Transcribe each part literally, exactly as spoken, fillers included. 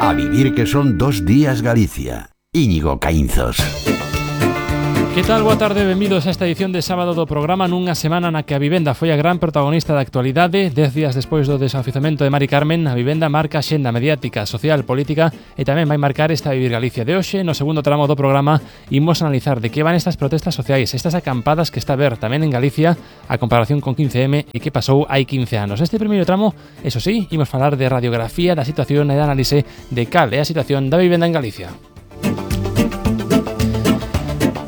A vivir que son dos días Galicia. Íñigo Caínzos. Que tal? Boa tarde, benvidos a esta edición de sábado do programa nunha semana na que a vivenda foi a gran protagonista da actualidade. Dez días despois do desafiuzamento de Mari Carmen, a vivenda marca a xenda mediática, social, política e tamén vai marcar esta Vivir Galicia de hoxe. No segundo tramo do programa imos analizar de que van estas protestas sociais, estas acampadas que está a ver tamén en Galicia a comparación con quince eme e que pasou hai quince anos. Este primeiro tramo, eso sí, imos falar de radiografía da situación e de análise de cal é a situación da vivenda en Galicia.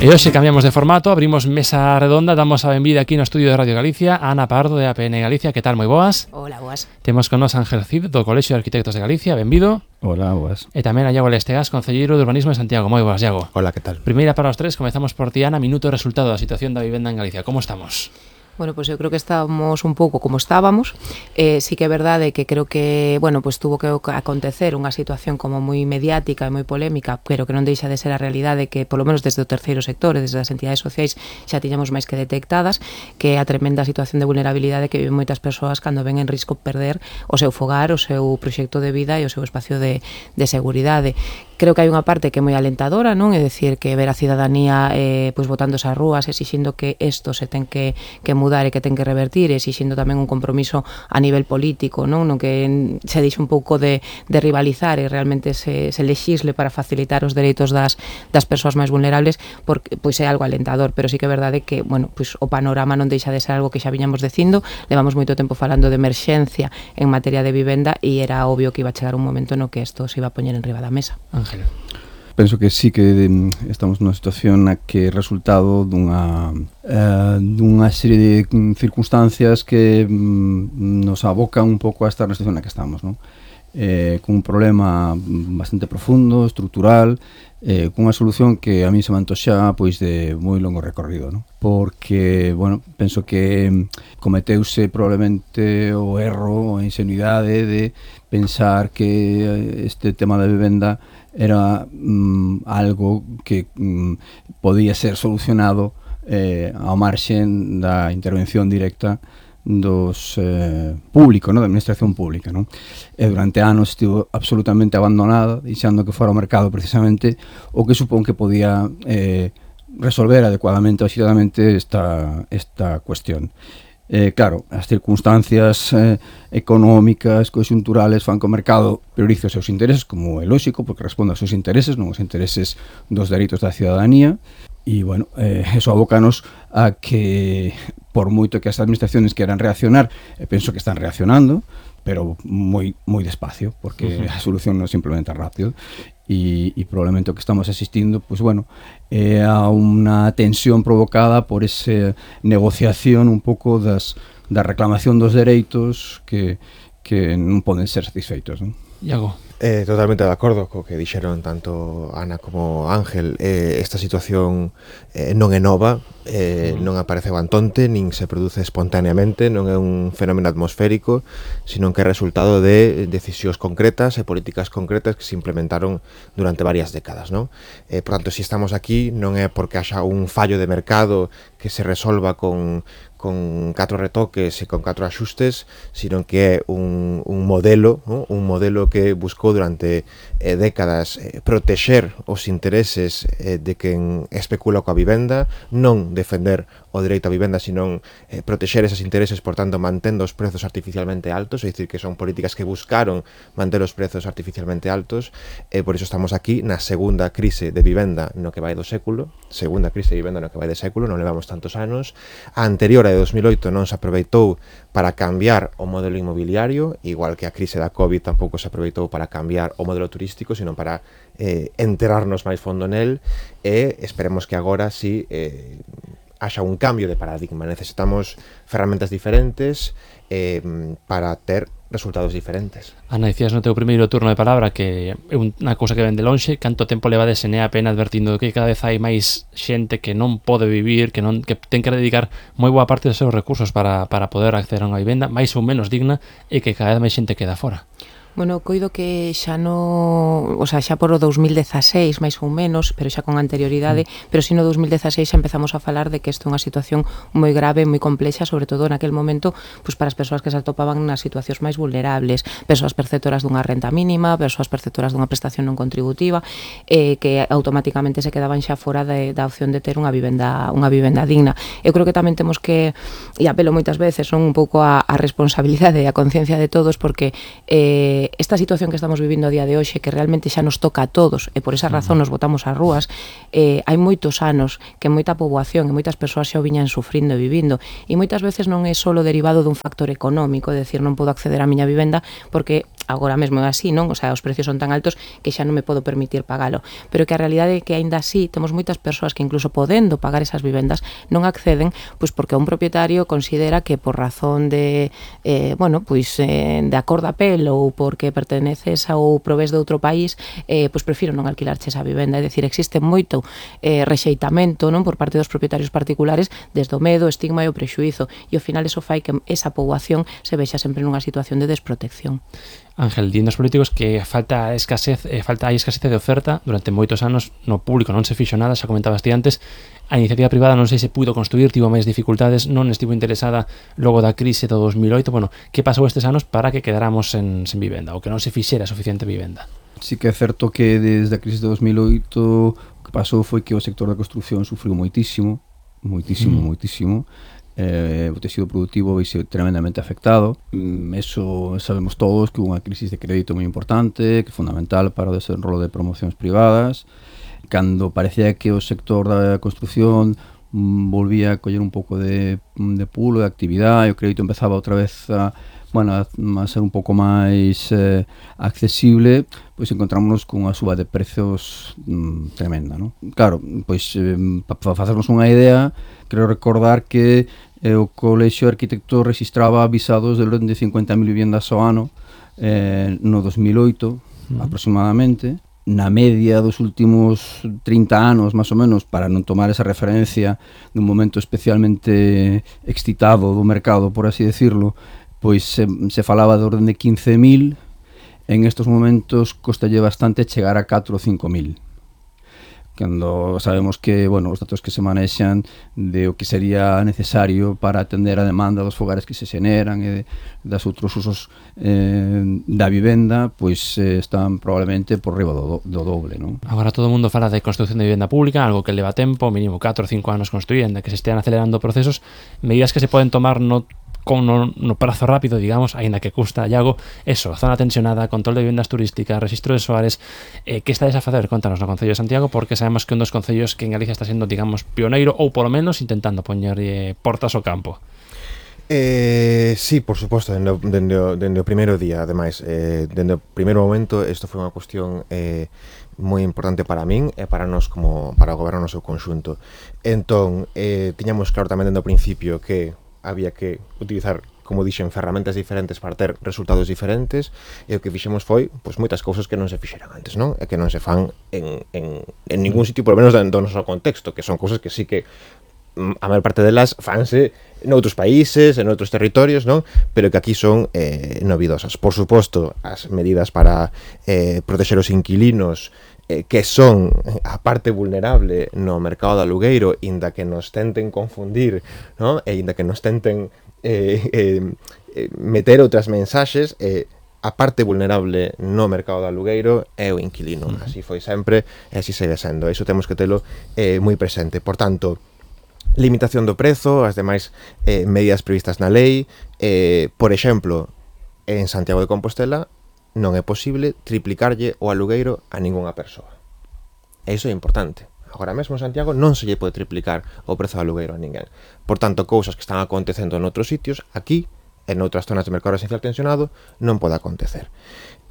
E hoxe cambiamos de formato, abrimos mesa redonda, damos a benvida aquí no estudio de Radio Galicia a Ana Pardo de A P N Galicia. Que tal? Moi boas. Hola, boas. Temos con nos Ángel Cid do Colexio de Arquitectos de Galicia, benvido. Hola, boas. E tamén a Iago Lestegas, concelleiro de Urbanismo de Santiago. Moi boas, Iago. Hola, que tal? Primeira para os tres, comezamos por ti, Ana, minuto de resultado da situación da vivenda en Galicia. Como estamos? Bueno, pues eu creo que estamos un pouco como estábamos. Eh, sí que é verdade que creo que, bueno, pues tuvo que acontecer unha situación como moi mediática e moi polémica, pero que non deixa de ser a realidade que, polo menos desde o terceiro sector e desde as entidades sociais, xa tiñamos máis que detectadas, que é a tremenda situación de vulnerabilidade que viven moitas persoas cando ven en risco perder o seu fogar, o seu proxecto de vida e o seu espacio de, de seguridade. Creo que hai unha parte que é moi alentadora, non? É dicir, que ver a cidadanía eh, pues, botando as rúas, exixindo que isto se ten que, que mudar e que ten que revertir, exixindo tamén un compromiso a nivel político, non? No que se dixe un pouco de, de rivalizar e realmente se, se lexisle para facilitar os dereitos das, das persoas máis vulnerables, porque pois é algo alentador, pero sí que é verdade que, bueno, pois o panorama non deixa de ser algo que xa viñamos dicindo, levamos moito tempo falando de emerxencia en materia de vivenda e era obvio que iba a chegar un momento no que isto se iba a poñer en riba da mesa. Ángel. Penso que sí que estamos nunha situación na que é resultado dunha, eh, dunha serie de circunstancias que mm, nos abocan un pouco a esta situación na que estamos, non? Eh, con un problema bastante profundo, estrutural, eh, cunha solución que a mí se me antoxa pois de moi longo recorrido, non? Porque, bueno, penso que cometeuse probablemente o erro, a ingenuidade de pensar que este tema da vivenda era mm, algo que mm, podía ser solucionado eh, ao marxen da intervención directa dos eh, público, no? Da administración pública, non? E durante anos estivo absolutamente abandonada, deixando que fora o mercado precisamente o que supón que podía eh, resolver adecuadamente ou axitadamente esta, esta cuestión. Eh, claro, as circunstancias eh, económicas, conxunturales fan que o mercado priorice os seus intereses, como é lóxico, porque responde aos seus intereses, non os intereses dos dereitos da cidadanía, e, bueno, eh, eso abócanos a que, por moito que as administraciones queran reaccionar, e penso que están reaccionando, pero moi moi despacio, porque uh-huh. a solución non se implementa rápido, e, e probablemente o que estamos asistindo, pues bueno, é a unha tensión provocada por esa negociación un pouco das, da reclamación dos dereitos que, que non poden ser satisfeitos, non? Iago. Eh, totalmente de acordo co que dixeron tanto Ana como Ángel. Eh, esta situación eh, non é nova, eh, non apareceu antonte, nin se produce espontaneamente, non é un fenómeno atmosférico, sino que é resultado de decisións concretas e políticas concretas que se implementaron durante varias décadas, non? Eh, por tanto, se estamos aquí non é porque haxa un fallo de mercado que se resolva con con catro retoques e con catro axustes, sino que é un, un modelo, ¿no? Un modelo que buscou durante eh, décadas eh, protexer os intereses eh, de quen especula coa vivenda, non defender o dereito á vivenda, sino eh, protexer esos intereses, por tanto, mantendo os prezos artificialmente altos, é dicir, que son políticas que buscaron manter os prezos artificialmente altos, e eh, por iso estamos aquí na segunda crise de vivenda no que vai do século, segunda crise de vivenda no que vai de século, non levamos tantos anos. A anterior, a de dos mil oito, non se aproveitou para cambiar o modelo inmobiliario, igual que a crise da COVID tampouco se aproveitou para cambiar o modelo turístico, sino para eh, enterarnos máis fondo nel, e esperemos que agora sí eh, haxa un cambio de paradigma. Necesitamos ferramentas diferentes eh, para ter resultados diferentes. Ana, dicías no teu primeiro turno de palabra que é unha cousa que ven de lonxe. Canto tempo leva de S N E A P N advertindo que cada vez hai máis xente que non pode vivir, que non que ten que dedicar moi boa parte dos seus recursos para, para poder acceder a unha vivenda máis ou menos digna, e que cada vez máis xente queda fora? Bueno, coido que xa no, o sea, xa por o dous mil dezaseis, máis ou menos, pero xa con anterioridade, mm. pero si no dous mil dezaseis xa empezamos a falar de que isto é unha situación moi grave, moi complexa, sobre todo naquel momento, pois para as persoas que se atopaban nas situacións máis vulnerables, persoas perceptoras dunha renta mínima, persoas perceptoras dunha prestación non contributiva, eh, que automáticamente se quedaban xa fora de, da opción de ter unha vivenda, unha vivenda digna. Eu creo que tamén temos que, e apelo moitas veces, son un pouco a, a responsabilidade e a conciencia de todos, porque eh, esta situación que estamos vivindo a día de hoxe, que realmente xa nos toca a todos, e por esa razón nos botamos ás rúas, eh, hai moitos anos que moita poboación e moitas persoas xa o viñan sufrindo e vivindo, e moitas veces non é só derivado dun factor económico, é dicir, non podo acceder á miña vivenda porque agora mesmo é así, non? O sea, os precios son tan altos que xa non me podo permitir pagalo, pero que a realidade é que aínda así temos moitas persoas que incluso podendo pagar esas vivendas non acceden, pois porque un propietario considera que por razón de eh, bueno, pois eh, de acordo a pel ou porque perteneces ou provés de outro país, eh, pois prefiro non alquilarche esa vivenda. É dicir, existe moito eh, rexeitamento, non, por parte dos propietarios particulares desde o medo, o estigma e o prexuízo, e ao final eso fai que esa poboación se vexa sempre nunha situación de desprotección. Ángel, din os políticos que falta escasez, eh, falta hai escasez de oferta durante moitos anos, no público non se fixo nada, xa comentabas ti antes, a iniciativa privada non sei se puido construir, tivo máis dificultades, non estivo interesada logo da crise do dos mil oito, bueno, que pasou estes anos para que quedáramos sen, sen vivenda, ou que non se fixera suficiente vivenda? Sí que é certo que desde a crise de dos mil oito o que pasou foi que o sector da construción sufriu moitísimo, moitísimo, mm. moitísimo, eh, o tecido productivo veise tremendamente afectado. Eso sabemos todos que hubo unha crisis de crédito moi importante, que é fundamental para o desenrolo de promocións privadas. Cando parecía que o sector da construción mm, volvía a coller un pouco de, de pulo, de actividade, e o crédito empezaba outra vez a, bueno, a, a ser un pouco máis eh, accesible, pois encontramos con unha suba de prezos mm, tremenda, non? Claro, pois eh, para facernos unha idea, quero recordar que eh, o Colexio de Arquitectos registraba visados de orden de cincuenta mil vivendas ao ano eh, no dos mil oito, mm. aproximadamente. Na media dos últimos trinta anos, máis ou menos, para non tomar esa referencia dun momento especialmente excitado do mercado, por así decirlo, pois se, se falaba de orden de quince mil, en estos momentos costalle bastante chegar a catro ou cinco mil. Cando sabemos que, bueno, os datos que se manexan de o que sería necesario para atender a demanda dos fogares que se xeneran e de, das outros usos eh, da vivenda, pois eh, están probablemente por riba do, do doble, non? Agora todo o mundo fala de construcción de vivenda pública, algo que leva tempo, mínimo catro ou cinco anos construíndo, que se estean acelerando procesos, medidas que se poden tomar no con no, no prazo rápido, digamos, aínda que custa, Iago, eso, zona tensionada, control de vivendas turísticas, registro de soares, eh, que estades a facer? Contanos no Concello de Santiago, porque sabemos que un dos concellos que en Galicia está sendo, digamos, pioneiro, ou polo menos intentando poñer eh, portas ao campo. Eh, sí, por suposto, dende, dende, dende o primeiro día, ademais, eh, dende o primeiro momento, isto foi unha cuestión eh, moi importante para min e para nós como para o goberno no seu conxunto. Entón, eh, tiñamos claro tamén dende o principio que había que utilizar, como dixen, ferramentas diferentes para ter resultados diferentes, e o que fixemos foi, pois, moitas cousas que non se fixeran antes, non? E que non se fan en, en, en ningún sitio, por lo menos do noso contexto, que son cousas que sí que a maior parte delas fanse noutros países, en outros territorios, non? Pero que aquí son eh, novidosas. Por suposto, as medidas para eh, proteger os inquilinos, que son a parte vulnerable no mercado do alugueiro, inda que nos tenten confundir, ¿no? E inda que nos tenten eh, eh, meter outras mensaxes, eh, a parte vulnerable no mercado do alugueiro é o inquilino. Uh-huh. Así foi sempre e así segue sendo. Iso temos que telo eh, moi presente. Por tanto, limitación do prezo, as demais eh, medidas previstas na lei, eh, por exemplo, en Santiago de Compostela non é posible triplicarlle o alugueiro a ningunha persoa. E iso é importante. Agora mesmo en Santiago non se lle pode triplicar o prezo do alugueiro a ninguén. Por tanto, cousas que están acontecendo en outros sitios, aquí, en outras zonas de mercado residencial tensionado, non pode acontecer.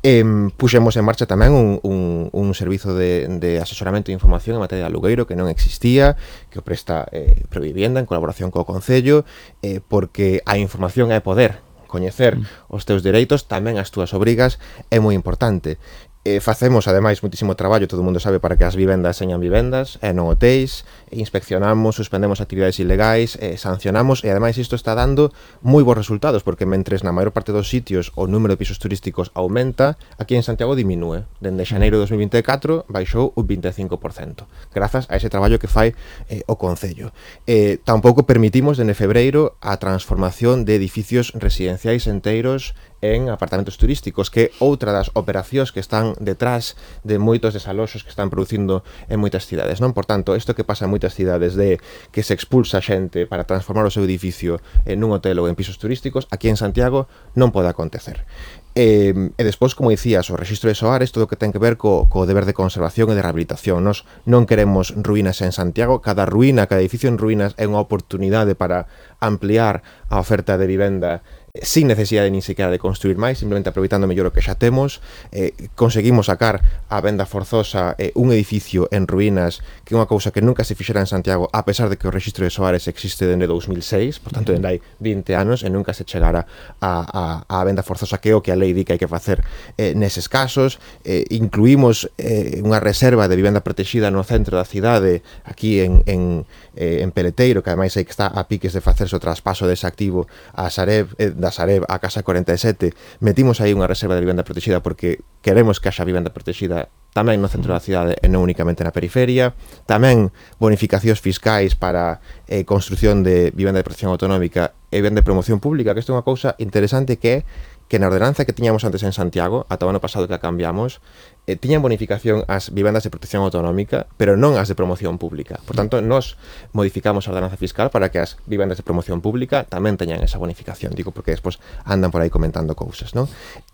E puxemos en marcha tamén un, un, un servizo de, de asesoramento e información en materia de alugueiro que non existía, que o presta eh, Provivienda en colaboración co Concello, eh, porque a información é poder. Coñecer mm. os teus dereitos, tamén as túas obrigas, é moi importante. Eh, facemos, ademais, muitísimo traballo, todo o mundo sabe, para que as vivendas señan vivendas e non hotéis, e inspeccionamos, suspendemos actividades ilegais, e sancionamos, e ademais isto está dando moi bons resultados, porque mentres na maior parte dos sitios o número de pisos turísticos aumenta, aquí en Santiago diminúe. Dende xaneiro de dos mil vinte e catro baixou un vinte e cinco por cento, grazas a ese traballo que fai eh, o Concello. Eh, tampouco permitimos, dende febreiro, a transformación de edificios residenciais enteiros en apartamentos turísticos, que é outra das operacións que están detrás de moitos desaloxos que están producindo en moitas cidades, non? Por tanto, isto que pasa en moitas cidades de que se expulsa xente para transformar o seu edificio en un hotel ou en pisos turísticos, aquí en Santiago non pode acontecer. E, e despois, como dicías, o rexistro de soares, todo o que ten que ver co, co deber de conservación e de rehabilitación. Nos non queremos ruínas en Santiago, cada ruína, cada edificio en ruínas é unha oportunidade para ampliar a oferta de vivenda sin necesidade nin sequera de construir máis, simplemente aproveitando mellor o que xa temos. Eh, conseguimos sacar a venda forzosa eh, un edificio en ruínas, que é unha cousa que nunca se fixera en Santiago, a pesar de que o rexistro de soares existe dende dous mil seis, por tanto, dende hai vinte anos, e nunca se chegara a, a, a venda forzosa, que é o que a lei di que hai que facer eh, neses casos. Eh, incluímos eh, unha reserva de vivenda protegida no centro da cidade, aquí en, en, eh, en Peleteiro, que ademais hai que está a piques de facerse o traspaso dese activo a Sareb, eh, da Sareb a Casa corenta e sete. Metimos aí unha reserva de vivenda protegida porque queremos que haxa vivenda protegida tamén no centro da cidade e non únicamente na periferia. Tamén bonificacións fiscais para eh, construción de vivenda de protección autonómica e vivenda de promoción pública, que isto é unha cousa interesante, que é que na ordenanza que tiñamos antes en Santiago, ata o ano pasado que a cambiamos, eh, tiñan bonificación as vivendas de protección autonómica, pero non as de promoción pública. Por tanto, nos modificamos a ordenanza fiscal para que as vivendas de promoción pública tamén teñan esa bonificación. Digo, porque despois andan por aí comentando cousas, non?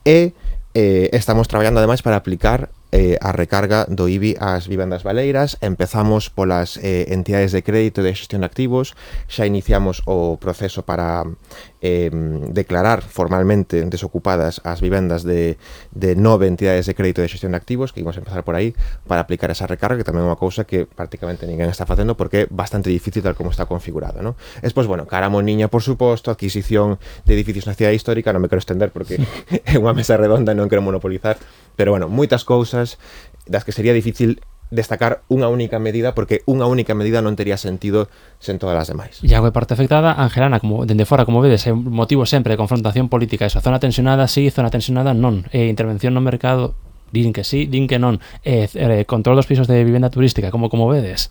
E eh, estamos traballando ademais para aplicar eh, a recarga do I B I ás vivendas baleiras. Empezamos polas eh, entidades de crédito e de xestión de activos, xa iniciamos o proceso para eh, declarar formalmente desocupadas as vivendas de, de nove entidades de crédito e de xestión de activos, que íbamos a empezar por aí para aplicar esa recarga, que tamén é unha cousa que prácticamente ninguén está facendo porque é bastante difícil tal como está configurado, ¿no? Despois, bueno, cara moniña, por suposto, adquisición de edificios na cidade histórica, non me quero estender porque é unha mesa redonda e non quero monopolizar, pero bueno, moitas cousas das que sería difícil destacar unha única medida, porque unha única medida non tería sentido sen todas as demais. E a parte afectada, Angelana, como dende fora, como vedes, é un motivo sempre de confrontación política. Esa zona tensionada sí, zona tensionada non. E intervención no mercado, din que sí, din que non. E eh, control dos pisos de vivenda turística, como como vedes?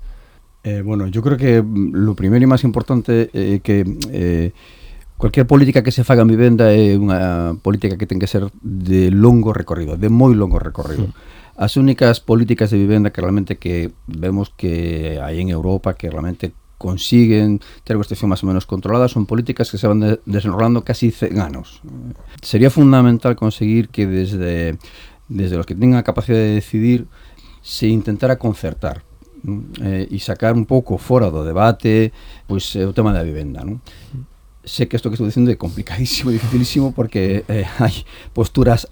Eh, bueno, yo creo que lo primero e máis importante é eh, que eh, cualquier política que se faga en vivenda é unha política que ten que ser de longo recorrido, de moi longo recorrido. Mm. As únicas políticas de vivenda que realmente que vemos que hai en Europa, que realmente consiguen ter unha situación máis ou menos controlada, son políticas que se van de, desenrolando casi cen anos. Sería fundamental conseguir que desde, desde los que tengan a capacidade de decidir se intentara concertar, ¿no? Eh, e sacar un pouco fora do debate pois, o tema da vivenda, ¿no? Sé que isto que estou dicindo é complicadísimo, dificilísimo, porque eh, hai posturas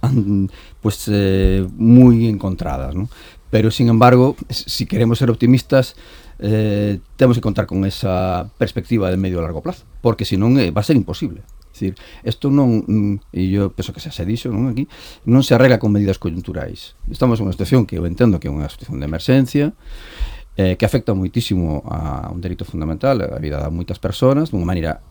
pues, eh, moi encontradas, ¿no? Pero, sin embargo, si queremos ser optimistas, eh, temos que contar con esa perspectiva de medio e largo plazo, porque senón eh, va a ser imposible. É dicir, isto non, e eu penso que xa se dixo, non, aquí, non se arregla con medidas coyunturais. Estamos en unha situación que eu entendo que é unha situación de emerxencia, eh, que afecta moitísimo a un dereito fundamental, a vida de moitas persoas, dunha maneira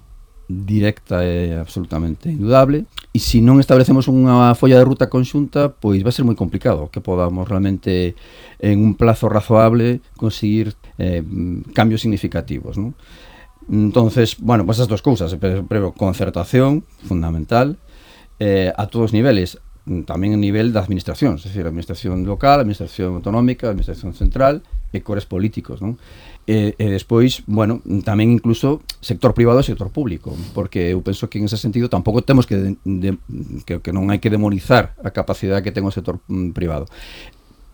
directa e absolutamente indudable, e se non establecemos unha folla de ruta conxunta, pois vai ser moi complicado que podamos realmente en un plazo razoable conseguir eh, cambios significativos, ¿no? Entonces, bueno, pues esas dos cousas, pero concertación fundamental eh, a todos os niveles, tamén a nivel da administración, es decir, a administración local, a administración autonómica, a administración central e cores políticos, non? E, e despois, bueno, tamén incluso sector privado e sector público, porque eu penso que en ese sentido tampouco temos que, de, de, que, que non hai que demonizar a capacidade que ten o sector mm, privado.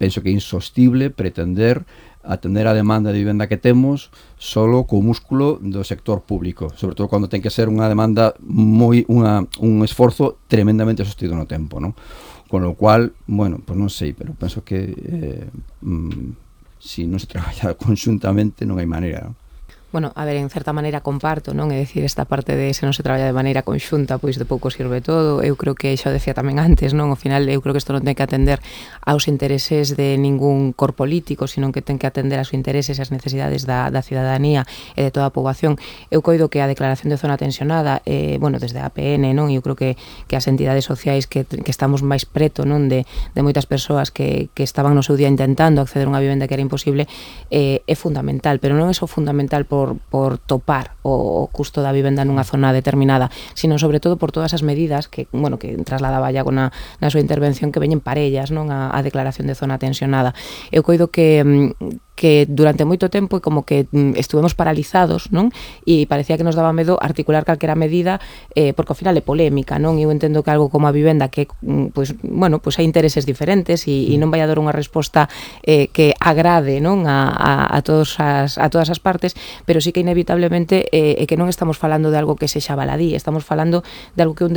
Penso que é insostible pretender atender a demanda de vivenda que temos solo co músculo do sector público, sobre todo cando ten que ser unha demanda moi unha, un esforzo tremendamente sostido no tempo, ¿no? Con lo cual, bueno, pues non sei, pero penso que eh, mm, si non se traballa conxuntamente non hai maneira, ¿no? Bueno, a ver, en certa maneira comparto, non? É dicir, esta parte de se non se traballa de maneira conxunta, pois de pouco sirve todo. Eu creo que, xa o decía tamén antes, non? Ao final, eu creo que isto non ten que atender aos intereses de ningún cor político, sino que ten que atender aos intereses e as necesidades da, da cidadanía e de toda a poboación. Eu coido que a declaración de zona tensionada, eh, bueno, desde a P N, non? Eu creo que, que as entidades sociais que, que estamos máis preto, non? De, de moitas persoas que, que estaban no seu día intentando acceder a unha vivenda que era imposible, eh, é fundamental, pero non é só fundamental por Por, por topar o, o custo da vivenda nunha zona determinada, sino sobre todo por todas as medidas que, bueno, que trasladaba Iago na, na súa intervención, que veñen parellas, non, a, a declaración de zona tensionada. Eu coido que que durante moito tempo como que estuvemos paralizados, non? E parecía que nos daba medo articular calquera medida, eh, porque ao final é polémica, non? Eu entendo que algo como a vivenda que, pues, bueno, pues hai intereses diferentes e, e non vai a dar unha resposta eh, que agrade, non? A, a, a, todos as, a todas as partes, pero sí que inevitablemente eh, é que non estamos falando de algo que sexa baladí, estamos falando de algo que é un dereito